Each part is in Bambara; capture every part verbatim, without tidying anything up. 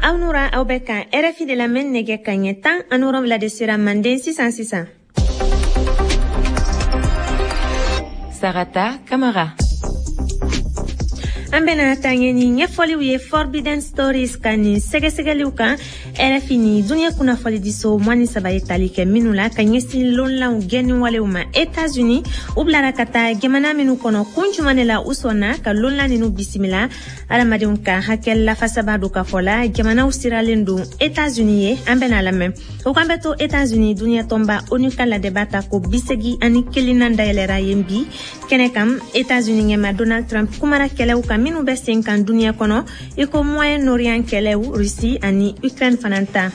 Aw nura, aw bɛ kan R F I de lamɛn. Nɛgɛ kaɲɛ tan ani wolonwula de sera manden sisan sisan. Sarata Kamara. An bena taa ɲɛ ni ɲɛfɔliw ye Forbidden Stories ka nin sɛgɛsɛgɛliw kan, R F I ni duniɲɛ kunnafonidiso mugan ni saba ye tali kɛ minnu la ka ɲɛsin lonlanw gɛnni walew ma Etats-Unis. U bilara ka taa jamana minnu kɔnɔ, kun juman de la u sɔnna ka lonlan ninu bisimila? Adamadenw ka hakɛ lafasaba don ka fɔ la, jamanaw siralen don Etats-Unis ye. An bena lamɛn o kan. Bɛ to Etats-Unis, duniɲɛ tɔnba ONU ka ladɛba ta ko bisegi ani kelennan dayɛlɛra yen bi. Kɛnɛ kan, Etats-Unis ɲɛma Donald Trump kumara kɛlɛw kan minnu bɛ sen kan duniɲɛ kɔnɔ, i ko Moyen Orient kɛlɛw, Russie ani Ukraine fana ta.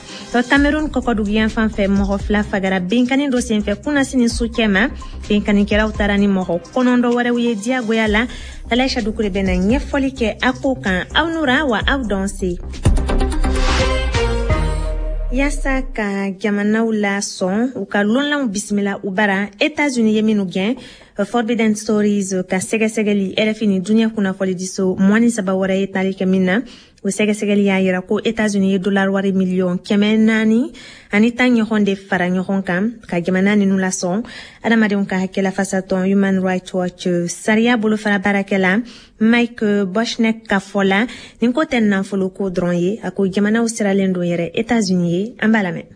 Cameroun kɔkɔduguyan fan fɛ, mɔgɔ fila fagara benkani dɔ senfɛ kunnasini su cɛma. Benkanikɛlaw taara ni mɔgɔ kɔnɔntɔ wɛrɛw ye diyagoya la. Alaisha Dukure bɛna ɲɛfɔli kɛ a ko kan. Aw nura wa aw dɔn se. Yaasa ka jamanaw la sɔn u ka lonlanw bisimila u bara Etats-Unis ye minnu gɛn, Forbidden Stories ka sɛgɛsɛgɛli, R F I ni duniɲɛ kunnafonidiso mugan ni saba wɛrɛ ye tali kɛ min na, o sɛgɛsɛgɛli y'a yira ko Etats-Unis ye dollar wari miliyɔn kɛmɛ naani ani tan ɲɔgɔn de fara ɲɔgɔn kan ka jamana ninu lasɔn. Adamadenw ka hakɛ lafasatɔn Human Rights Watch sariya bolofara baarakɛla Mike Bochenek ka fɔ la, nin ko tɛ nafoloko dɔrɔn ye. A ko jamanaw siralen don yɛrɛ Etats-Unis ye. An b'a lamɛn.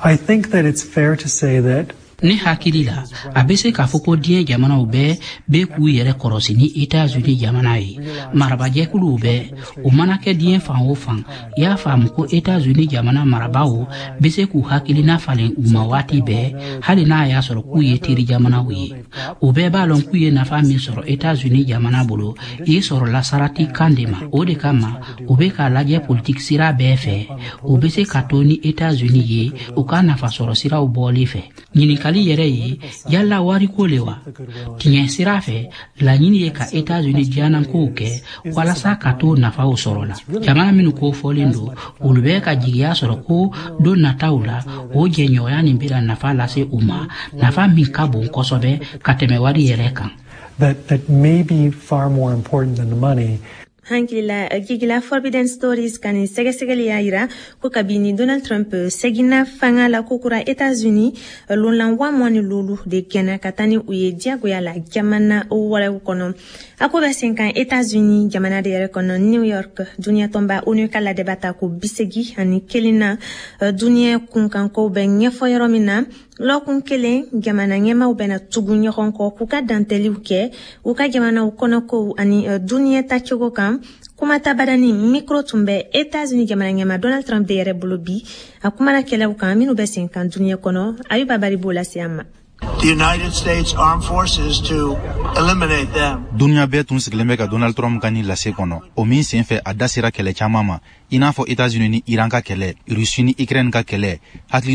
I think that it's fair to say that Ne hakili la, a bɛ se k'a fɔ ko diɲɛ jamanaw bɛɛ bɛ k'u yɛrɛ kɔrɔsi ni Etats-Unis jamana ye. Marabajɛkuluw bɛɛ, o mana kɛ diɲɛ fan o fan, y'a faamu ko Etats-Unis jamana marabaaw bɛ se k'u hakilina falen u ma waati bɛɛ, hali n'a y'a sɔrɔ k'u ye teri jamanaw ye. U bɛɛ b'a lɔn k'u ye nafa min sɔrɔ Etats-Unis jamana bolo, i sɔrɔla sarati kan de ma. O de kama u bɛ k'a lajɛ politiki sira bɛɛ fɛ, u bɛ se ka to ni Etats-Unis ye u ka nafasɔrɔ siraw bɔli fɛ. Ɲininkali yɛrɛ ye, yala wariko le wa? Tiɲɛ sira fɛ, laɲini ye ka Etats-Unis diyanankow kɛ walasa ka to nafaw sɔrɔ la. Jamana minnu ko fɔlen don, olu bɛ ka jigiya sɔrɔ ko don nataw la, o jɛɲɔgɔnya nin bɛna nafa lase u ma, nafa min ka bon kosɛbɛ ka tɛmɛ wari yɛrɛ kan. that, that may be far more important than the money. Hankilila gigila, Forbidden Stories ka nin sɛgɛsɛgɛli y'a yira ko kabini Donald Trump seginna fanga la kokura Etats-Unis, lonlan wa mugan ni lolu de gɛnna ka taa ni u ye diyagoya la jamana wɛrɛw kɔnɔ. A ko bɛ sen kan Etats-Unis jamana de yɛrɛ kɔnɔ, New York, duniɲɛ tɔnba ONU ka ladɛba ta ko bisegi ani kelen na, duniɲɛ kunkankow bɛ ɲɛfɔ yɔrɔ min na. Lɔkun kelen, jamana ɲɛmaw bɛna tugu ɲɔgɔn kɔ k'u ka dantɛliw kɛ u ka jamanaw kɔnɔkow ani duniɲɛ tacogo kan. Kumata badani micro tun bɛ Etats-Unis jamana ɲɛma Donald Trump de yɛrɛ bolo bi. A kumana kɛlɛw kan minnu bɛ sen kan duniɲɛ kɔnɔ. Ayuba Bari b'o lase an ma. The United States Armed Forces to eliminate them. Duniɲa bɛɛ tun sigilen bɛ ka Donald Trump ka nin lase kɔnɔ, o min sen fɛ a da sera kɛlɛ caaman ma, i n'a fɔ Etats-Unis ni Iran ka kɛlɛ, Russie ni Ukraine ka kɛlɛ, hakili